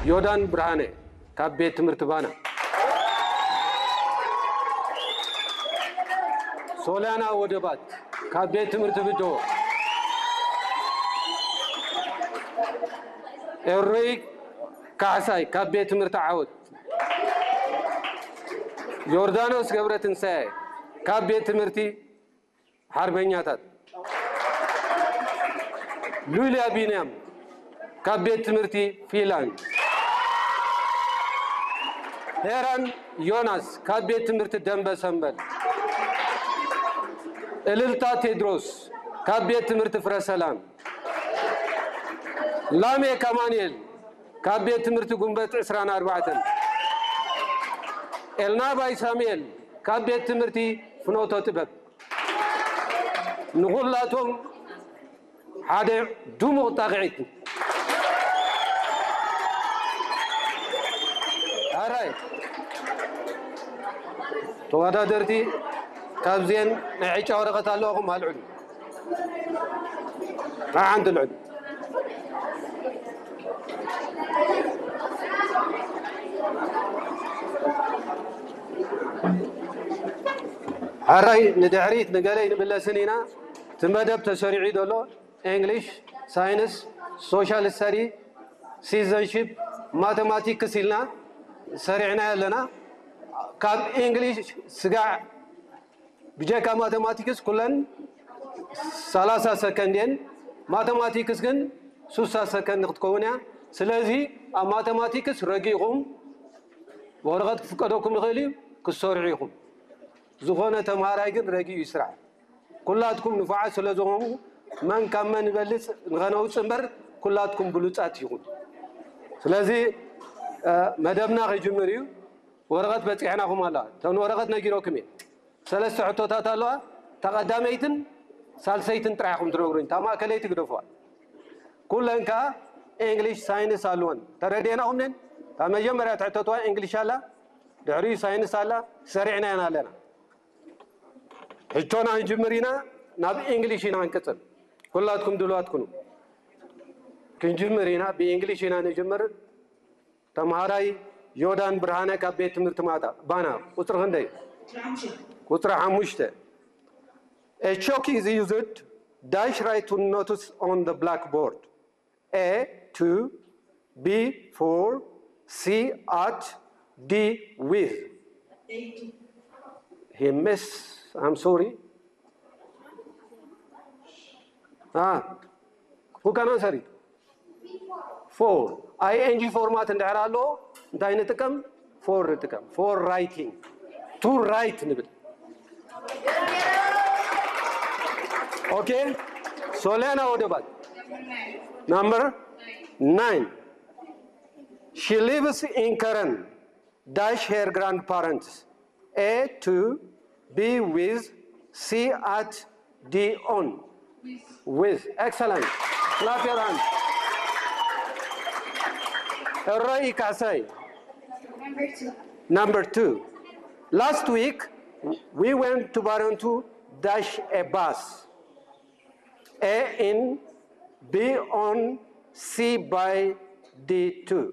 ዮዳን ብርሃነ ካብ ቤት ትምህርቲ ባና። ሶልያና ወደባት ካብ ቤት ትምህርቲ ብደሆ። ኤሮይ ካሕሳይ ካብ ቤት ትምህርቲ ዓወት። ዮርዳኖስ ገብረትንሳኤ ካብ ቤት ትምህርቲ ሓርበኛታት። ሉልያ ቢንያም ካብ ቤት ትምህርቲ ፊላንድ። ሄራን ዮናስ ካብ ቤት ትምህርቲ ደንበ ሰንበል። እልልታ ቴድሮስ ካብ ቤት ትምህርቲ ፍረ ሰላም። ላሜክ ኣማኑኤል ካብ ቤት ትምህርቲ ጉንበት ዕስራን ኣርባዕተን። ኤልናባይ ሳሙኤል ካብ ቤት ትምህርቲ ፍኖተ ጥበብ። ንኹላቶም ሓደ ድሙቕ ጣቕዒት። ኣራይ ተወዳደርቲ ካብዚኤን ናይ ዕጫ ወረቐት ኣለዋኹም ኣልዕሉ። ሓንቲ ልዕሉ። ሓራይ ንድሕሪት ንገለ ይንምለስን ኢና። እቲ መደብ ተሰሪዑ ዘሎ እንግሊሽ፣ ሳይንስ፣ ሶሻል ስተዲ፣ ሲቲዘንሺፕ፣ ማተማቲክስ ኢልና ሰሪዕና ኣለና። ካብ እንግሊሽ ስጋዕ ብጀካ ማተማቲክስ ኩለን ሰላሳ ሰከንድ እየን። ማተማቲክስ ግን ስሳ ሰከንድ ክትከውን እያ። ስለዚ ኣብ ማተማቲክስ ረጊእኹም ወረቐት ክፍቀደኩም ይኽእል እዩ፣ ክትሰርሑ ኢኹም። ዝኾነ ተምሃራይ ግን ረጊኡ ይስራሕ። ኩላትኩም ንፉዓት ስለ ዝኾኑ መን ካብ መን ይበልጽ ንኸነውጽእ እምበር ኩላትኩም ብሉጻት ኢኹም። ስለዚ መደብና ክጅምር እዩ። ወረቐት በጺሕናኹም ኣላ። እተን ወረቐት ነጊረኩም እየ። ሰለስተ ሕቶታት ኣለዋ። እታ ቀዳመይትን ሳልሰይትን ጥራሕ ኢኹም ትነግሩኝ። እታ ማእከለይቲ ግደፉዋ። ኩለን ከኣ እንግሊሽ ሳይንስ ኣለወን። ተረዲእናኹም ነን። እታ መጀመርያ ትሕተትዋ እንግሊሽ ኣላ፣ ድሕሪኡ ሳይንስ ኣላ፣ ሰሪዕናየን ኣለና። ሕቶና ክንጅምር ኢና፣ ናብ እንግሊሽ ኢና ክንቅጽል። ኩላትኩም ድሉዋት ኩኑ። ክንጅምር ኢና፣ ብእንግሊሽ ኢና ንጅምር። ተምሃራይ ዮዳን ብርሃነ ካብ ቤት ትምህርቲ ማጣ ባና። ቁጽሪ ክንደይ? ቁጽሪ ሓሙሽተ። A chalk is used dash write to notes on the blackboard. A two, B four, C at, D with. He miss, I'm sorry. Ah, who can answer it? Four. I N G format እንድሕር ኣሎ እንታይ ንጥቀም? For ንጥቀም። For writing. To write ንብል። Okay. ሶሊያና ወደባት። Number nine. She lives in Karen. Dash her grandparents. A to, B with, C at, D on. With. Excellent. Clap your hands. Roy Kasai. Number two. Last week, we went to Barontu dash a bus. A in, B on, C by, D two.